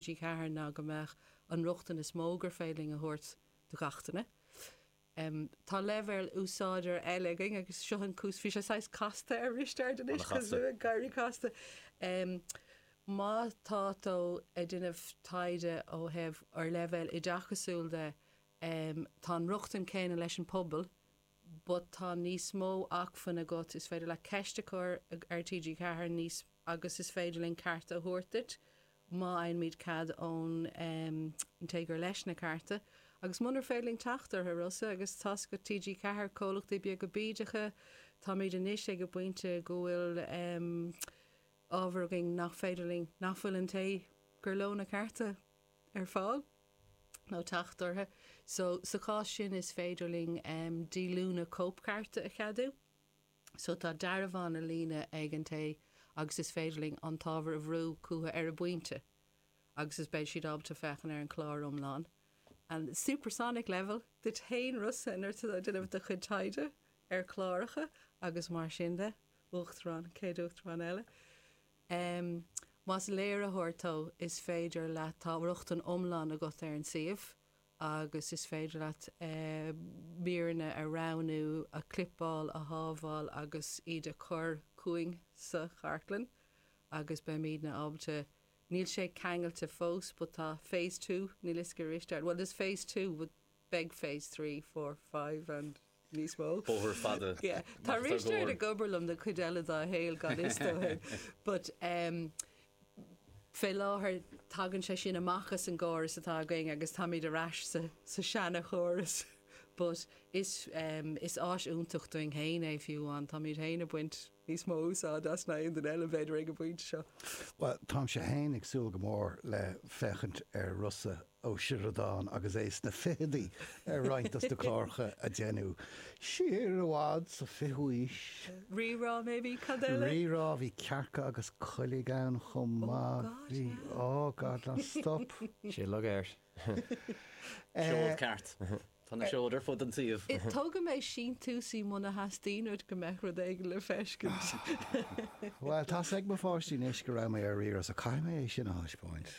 TG4 ná go mbeadh an rochtain is mó gur féidir linn a thabhairt do gach duine. Tá leibhéal úsáideoir eile againn agus seo an cúis, bhí sé saghas casta ar Risteard anois An-chasta. ag éirí casta. Má tá tú ag déanamh taighde ó thaobh ar leibhéal oideachasúil de, tá an rochtain céanna leis an pobal but tá níos mó acmhainn agat, is féidir leat ceist a chur ar TG4 níos agus is féidir linn cearta a thabhairt duit má fhaighimid cead ón té gur leis na cearta. Agus munar féidir linn teacht orthu, Rossa, agus tá's agat TG4, comhlachtaí beaga bídeacha, táimid anois ag an bpointe go bhfuil ábhar againn nach féidir linn, nach bhfuil an té gur leo na cearta ar fáil nó teacht orthu. So, sa chás sin is féidir linn díolúine cóipchearta a cheadú. So tá dearbhán a líonadh ag an té agus is féidir linn an t-ábhar a bhrú chucu ar an bpointe agus is beidh siad ábalta féachaint ar an chlár iomlán. And supersonic level duit féin Rossa nuair atá tú ag déanamh do chuid taighde ar chláracha agus mar sin de, uachtarán, chéad uachtarán eile. Em, más léiritheoir tú is féidir leat, tá rochtain iomlán agat ar an suíomh agus is féidir leat míreanna a roghnú, a chlippeáil, a shábháil agus iad a chur chugainn sa chartlann agus beimidne ábalta, níl sé ceangailte fós but tá phase 2, níl fhios ag Risteard, well there's phase 2 but beidh phase 3, 4, 5 and níos mó. Bóthar fada. Yeah. Tá Risteard ag obair liom don chuid eile dá shaol gan fhios dó féin. But um, fé láthair tagann sé sin amach as an gcóras atá againn agus táimid ar ais sa, sa seana-chóras. But is, um, is áis iontach dúinn féin é fiú amháin. Táimid féin ag baint níos mó úsáid as ná aon duine eile b'fhéidir ag an bpointe seo. Bhuel, táimse féin ag súil go mór le féachaint ar Rossa Ó Sioradáin agus é sna fichidí ar roinnt dos na cláracha a deineadh siar i bhfad sa fichiú aois. Rí-Rá maybe, cad eile? Rí-Rá, bhí Cearca agus Coiligh ann chomh maith. Oh God, Bhí, yeah. oh God, ná stop. Sé lug air. Seod ceart. Tá na seoid ar fud an tsuímh. Tógfaidh mé síntiúsaí muna theastaíonn uait go mbeadh rud éigin le feiscint. Bhuel, tá's ag mo pháistí anois go raibh mé ar Rí-Rá so caithfidh mé é sin a thaispeáint.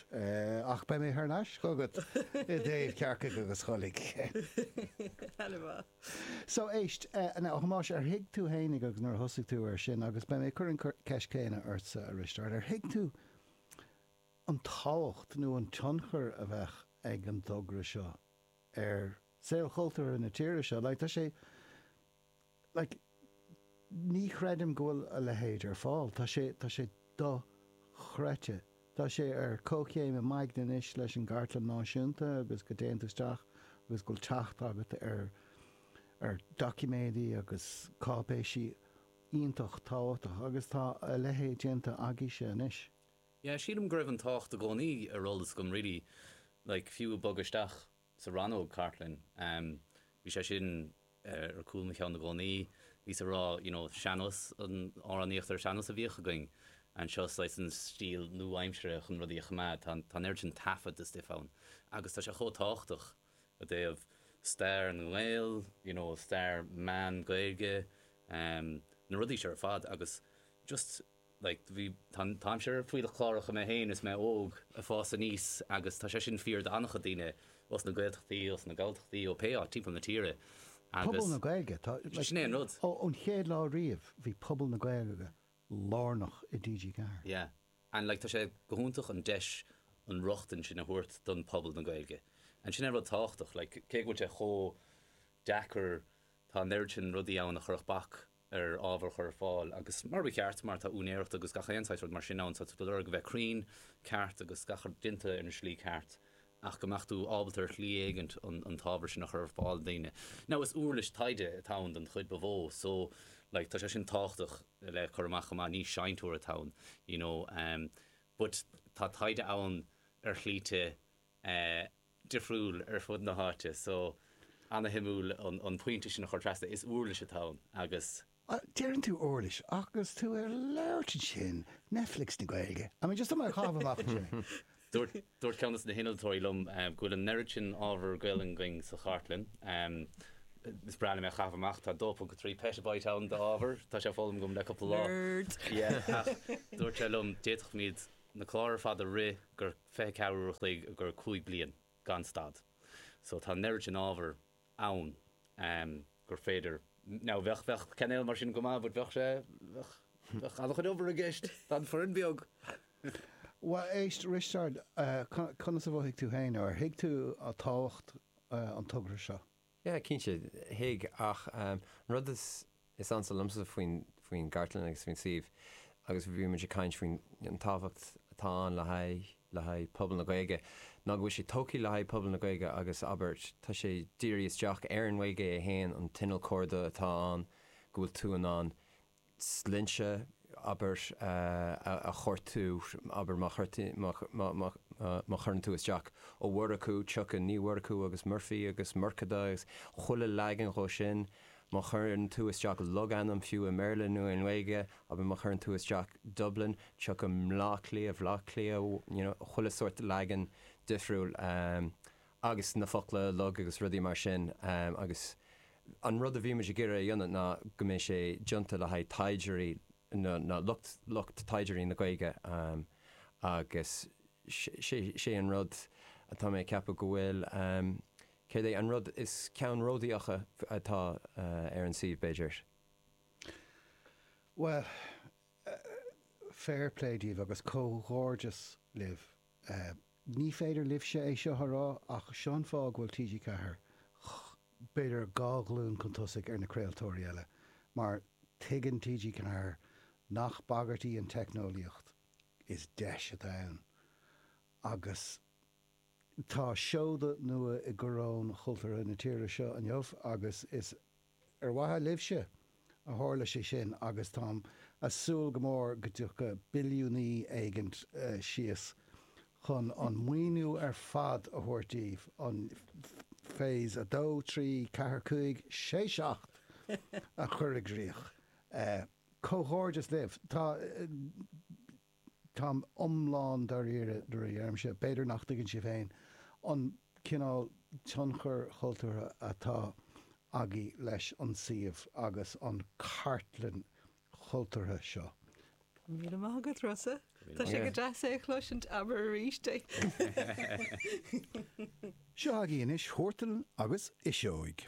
Ach beidh mé thar n-ais chugat i dtaobh Cearcaigh agus Choiligh. Ana-mhaith. So, éist, now, a Thomáis, ar thuig tú fhéinig agus nuair a thosaigh tú air sin, agus beidh mé ag cur an ceist céanna ortsa, a Risteaird, ar thuig tú an tábhacht nó an tionchar a bheadh ag an dtogra seo ar saol chultúrtha na tíre seo. Like, tá sé, like, ní chreidim go bhfuil a leithéid ar fáil. Tá sé, tá sé dochreidte. Tá sé ar comhchéim i m'aigne anois leis an gCartlann Náisiúnta agus go dtéann tú isteach agus go bhfuil teacht agat ar, ar doiciméidí agus cáipéisí iontach tábhachtach agus tá a leithéid déanta agaibhse anois. Yeah, sílim go raibh an tábhacht i gcónaí ar eolas agam really, like fiú ag bogadh isteach sa rannóg cartlainne, em bhí sé sin ar cúl mo cheann i gcónaí, bhíos ag rá you know sean-nós, an amhránaíocht ar sean-nós a bhíodh againn anseo, saghas an stíl nua-aimseartha chun rudaí a choimeád, tá tá an oiread sin taifead de stuif ann agus tá sé chomh tábhachtach i dtaobh stair na nGael, you know stair meán Gaeilge, em na rudaí seo ar fad agus just like bhí, tá, táimse ar fuílleach cláracha mé féin is mé óg ag fás aníos agus tá sé sin fíor d'an-chuid daoine ós na Gaeltachtaí, ós na Galltachtaí, ó pé áit timpeall na tíre Pobal agus na Gaeilge, tá, like, sin é an rud. ó, ón chéad lá riamh bhí pobal na Gaeilge lárnach i TG4. Yeah and like tá sé go hiontach an deis an rochtain sin a thabhairt don pobal na Gaeilge and sin é rud tábhachtach like cé go bhfuil sé chomh deacair tá an oiread sin rudaí ann a chuirfeadh bac ar ábhar a chur ar fáil agus mar ba cheart mar tá úinéireacht agus gach aon saghas rud mar sin ann so tá tú ag lorg a bheith cruinn, ceart agus gach rud déanta ar an slí ceart ach go mbeadh tú ábalta ar shlí éigint an an t-ábhar sin a chur ar fáil do daoine. Now is uirlis taighde atá ann don chuid ba mhó so like tá sé sin tábhachtach le cur amach chomh maith, ní seinnteoir atá ann you know um but tá taighde ann ar shlíte eh difriúil ar fud na háite so ana-shuimiúil an pointe sin a chur trasna. Is uirlis atá ann agus. Deireann tú uirlis agus tú ag labhairt ansin, Netflix na Gaeilge. I mean just tá mé ag caitheamh amach ansin. Dúirt dúirt ceann de na hinnealtóirí liom go bhfuil an oiread sin ábhar Gaelainn againn sa chartlann. Is breá liom é a chaitheamh amach, tá 2.3 petabyte ann d'ábhar, tá sé foghlamtha agam le cúpla lá. Nerd! Yeah, ach dúirt sé liom, d'fhéadfadh muid. na cláir ar fad a rith gur 24 uair a chloig gur 5 bliain gan stad. So tá an oiread sin ábhar ann gur féidir, now bheadh, bheadh cainéal mar sin go maith but bheadh sé, bheadh, bheadh an-chuid obair i gceist don foireann beag. Bhuel, éist, Risteárd, conas a mhothaigh tú féin, nó ar thuig tú tábhacht an togra seo? Yeah, cinnte, thuig, ach an rud is is ansa liomsa faoin faoin gcartlann agus faoin suíomh, agus bhí muid ag caint faoin an tábhacht atá ann le haghaidh le haghaidh pobal na Gaeilge, ná go bhfuil sé tógtha le haghaidh pobal na Gaeilge agus abair, tá sé dírithe isteach ar an nGaeilge é féin, an t-inneall cuardaigh atá ann, go bhfuil tú in ann sloinnte, abair, a chuartú, abair, má má chuireann tú isteach Ó Murchú, tiocfaidh Ní Mhurchú agus Murphy agus Murchadha agus chuile leagan dhó sin. Má chuireann tú isteach logainm, fiú i mBéarla nó i nGaeilge, abair, má chuireann tú isteach Dublin, tiocfaidh mBleá Cliath, Bhleá Cliath, you know, chuile sórt leagan difriúil. Agus na focla log agus rudaí mar sin agus an rud a bhí muid ag iarraidh a dhéanamh ná go mbeidh sé déanta le haghaidh taighdeoirí nó lucht lucht taighdeoirí na Gaeilge agus sé an rud atá mé ag ceapadh go bhfuil céard é an rud is ceannródaíocha atá ar an suíomh b'fhéidir. Bhuel, fair play daoibh agus comhghairdeas libh. Ní féidir libhse é seo a rá ach seo an fáth go bhfuil TG4 b'fhéidir dhá ghlúin chun tosaigh ar na craoltóirí eile mar tuigeann TG4 nach bagairt í an teicneolaíocht, is deis atá ann agus tá seoda nua i gcoróin chultúrtha na tíre seo inniu agus is Ar mhaithe libhse a tharla sé sin agus táim a súil go mór go dtiocfaidh billiúnaí éigint síos chun an maoiniú ar fad a thabhairt daoibh, an Phase 2, 3, 4, 5, 6, 7 a chur i gcrích. Comhghairdeas libh. Tá. Táim iomlán dáiríre nuair a deirimse, b'fhéidir nach dtuigeann sibh féin an cineál tionchair chultúrtha atá agaibh leis an suíomh agus an cartlann chultúrtha seo. Míle maith agat, Rossa. Tá sé go deas é a chloisint, abair arís é. Seo agaibh anois Huartan agus Fhuiseog.